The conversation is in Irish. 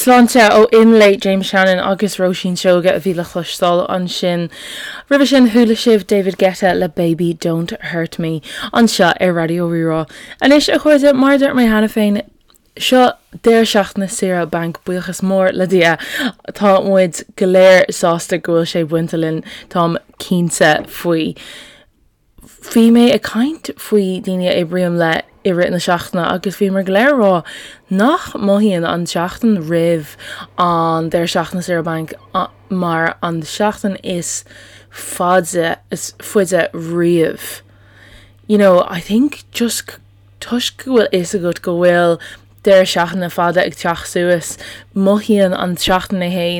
Sláinte ó Inlé, James Shannon agus Róisín Seoige a bhí le cloisteáil ansin. Roimhe sin chuala sibh David Guetta le Baby Don't Hurt Me anseo ar Raidió Rí-Rá. Anois, a chairde, mar a dúirt mé cheana féin, seo deireadh seachtaine saoire bainc, buíochas mór le Dia. Tá muid go léir sásta go bhfuil sé bainte linn, táim cinnte faoi. Bhí mé ag caint faoi daoine a oibrím le i rith na seachtaine agus bhíomar go léir ag rá nach mothaíonn an tseachtain roimh an deireadh seachtaine saoire bainc mar an seachtain is faide is faide riamh. You know, I think just toisc go bhfuil fhios agat go bhfuil deireadh seachtaine fada ag teacht suas, mothaíonn an tseachtain é féin.